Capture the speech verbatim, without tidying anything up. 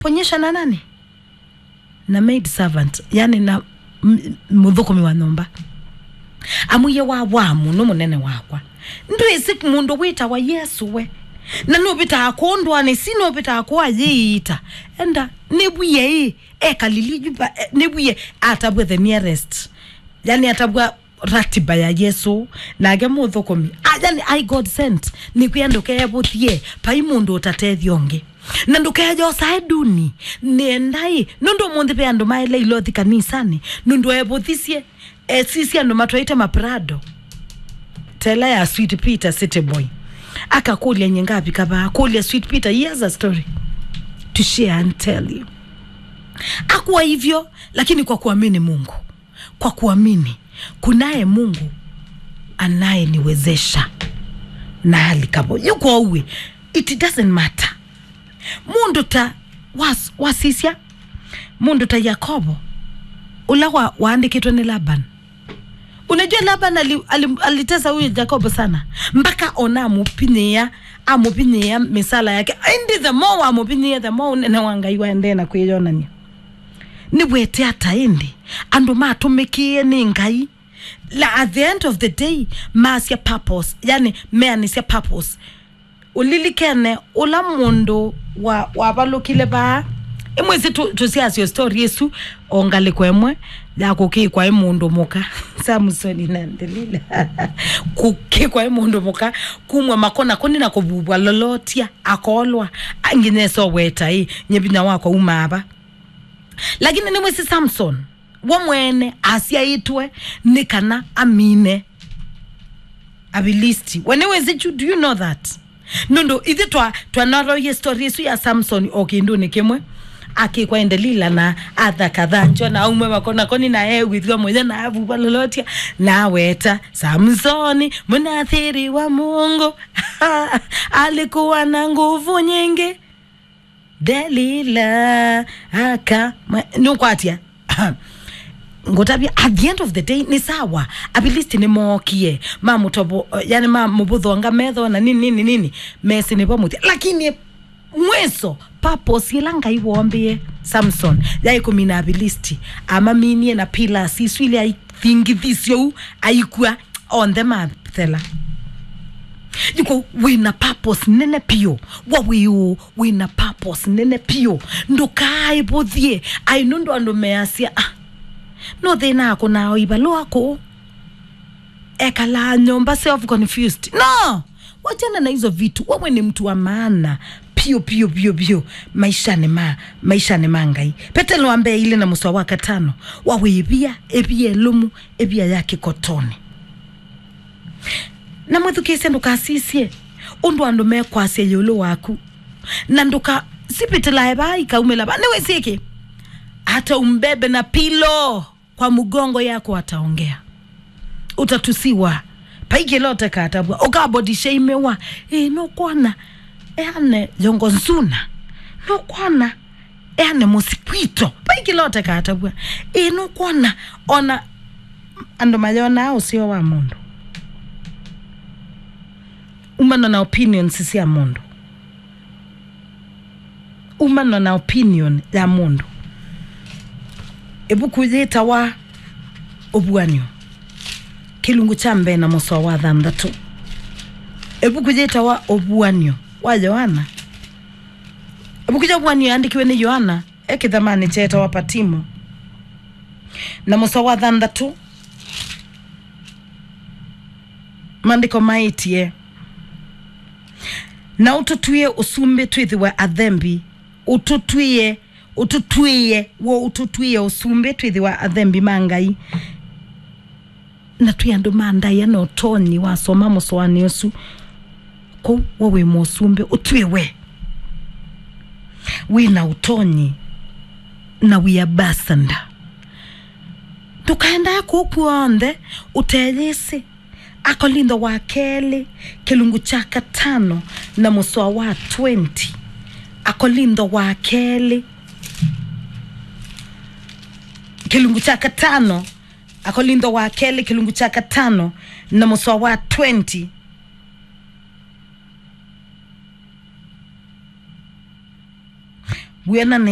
Ponyesha na nani? Na maid servant, yani na m- mũthũkũmi wa nyũmba. Amwĩie, wa wa mũno mũnene wakwa, ndwĩsĩ mũndũ wĩtawa Yesũ we? Na nũvĩtaa kũũ ndũanĩ si nũvĩtaa kũũ ayĩĩta? Enda nĩvwie ĩ, ekalili nyũmba, e, nĩvwie atavw'e the nearest, yani atavw'a ratiba ya Yesũ, nake mũthũkũmi. Ah, yani, I God sent. Nĩkwĩa ndũkeevũthie, vai mũndũ ũtatethya ũngĩ. Na ndũkeyosae nduni. Nĩenda ĩ, nũndũ ũmũnthĩ ve andũ maĩle ilothi kanisanĩ, nũndũ evũthisye, esisye andũ matwaĩte maprado. Tela ya Sweet Peter City Boy. Akakũlya, "Nye ngavika vaa?" Kũlya Sweet Peter, he has a story to share and tell you. Akuwa hivyo, lakini kwa kuamini Mungu. Kwa kuamini kunaye Mungu anayeniwezesha na hali kavo. Yuko uwe, it doesn't matter. Mũndũ ta was, wasisya, mũndũ ta Yakobo, ũla wa, waandĩkĩtwe nĩ Laban. Unajua Laban ali, ali, alitesa huyu Yakobo sana. Mpaka ona amupinyia, amupinyia misala yake. Indi the more wamupinyia, the more ũnene wa Ngai waendee na kwĩyonania. Nĩwete ata ĩndĩ andũ matũmĩkĩe nĩ Ngai? La, at the end of the day, masya purpose, yani meanĩsya purpose. Ũlilikene ũla mũndũ wa, wavalũkile vaa? Ĩmwĩsĩ tũ- tũsiasyo story ĩsu o ngalĩko ĩmwe ya kũkĩkwa ĩ mũndũ mũka. Samsoni na Delila. Kũkĩkwa ĩ mũndũ mũka, kumwa makona kũni na kũvuvwa lolotia, akolwa, a- nginya esoweta ĩ, nye vinya wakwa uma ava. Lakini nĩmwĩsĩ Samson, we mwene asyaĩtwe nĩ kana amine Avilisti. We nĩwĩsĩ chu, do you know that? Nũndũ ithe twa twanaroie story ĩsu ya Samson o kĩndũnĩ kĩmwe. Akĩkwa ĩ Delila na athakathanjwa na aumwe makona kũni na ewithwa mũya na avuva lolotia na aweta Samsoni mũnathiri wa Mungu alikuwa na nguvu nyingi. Delila aka mwe- nũkwatya. Ngũtavya, at the end of the day nĩ sawa. Avilisti nĩmookie mamũtovo, yani mamũvũthonga metho na nini nini nini, mesĩ nĩvo mũthya. Lakini mwiso purpose ĩla Ngai wombie Samson yaĩ kũmina Avilisti, amaminie na pillars isu ilĩ aithingithisye ũu, aikua, onthe mathela. Yuko wĩna purpose nene piũ. Wa wĩ ũũ, wĩna purpose nene piũ. Ndũkaaĩvũthie. Ai, nũndũ andũ measya, ah, no thĩna akũnaa o ivalũa kũũ, ekalaa nyũmba self confused. No, wachana na hizo vitu. Wewe ni mtu wa maana piũ piũ piũ piũ maishani ma maishani ma Ngai. Petelo wa mbee ilĩ na mũsoa wa katano, wa wĩvia ĩvia ĩlũmu, ĩvia ya kĩkotoni. Na mwĩthukĩĩsye, ndũkasisye ũndũ andũ mekwasya ĩũlũ waku, na ndũka sipitĩlae vaa ikaumĩla vaa. Nĩwĩsĩ kĩ? Hata umbebe na pilo kwa mgongo yako ataongea. Utatusiwa. Vai kĩla ũtekatavw'a. Ũkabodisheimiwa. Ĩĩ, nũkwona? Eane yongo nzuna. Nũkwona? Eane mũsikwito. Vai kĩla ũtekatavw'a. Ĩĩ, nũkwona? Ona andũ mayonaa ũseo wa mũndũ umana na opinions sya mũndũ. Umana na opinion ya mũndũ. Ĩvuku yĩtawa Ũvuan'yo, kĩlungu kya mbee na mũsoa wa thanthatũ. Ĩvuku yĩtawa Ũvuan'yo wa Yoana. Ĩvuku ya Ũvuan'yo yaandĩkiwe nĩ Yoana e kĩthamanĩ kyetawa Patimo. Na mũsoa wa thanthatũ, maandĩko maĩtye, "Na ũtũtw'ĩe ũsumbĩ twĩthĩwe athembi, ũtũtw'ĩe, ũtũtw'ĩe, w'o ũtũtw'ĩe ũsumbĩ twĩthĩwe athembi ma Ngai." Na twĩ andũ ma ndaĩa na ũtonyi wasoma mũsoanĩ ũsu. Kũu we wĩ mũsumbĩ, ũtw'ĩwe. Wĩ na ũtonyi na wĩ ambassador. Ndũkaendae kũu kw'onthe ũteyĩsĩ. Akolintho wa kelĩ, kĩlungu kya katano na mũsoa wa twenty. Akolintho wa kelĩ, kĩlungu kya katano. Akolintho wa kelĩ, kĩlungu kya katano na mũsoa wa twenty. Wĩana nesa.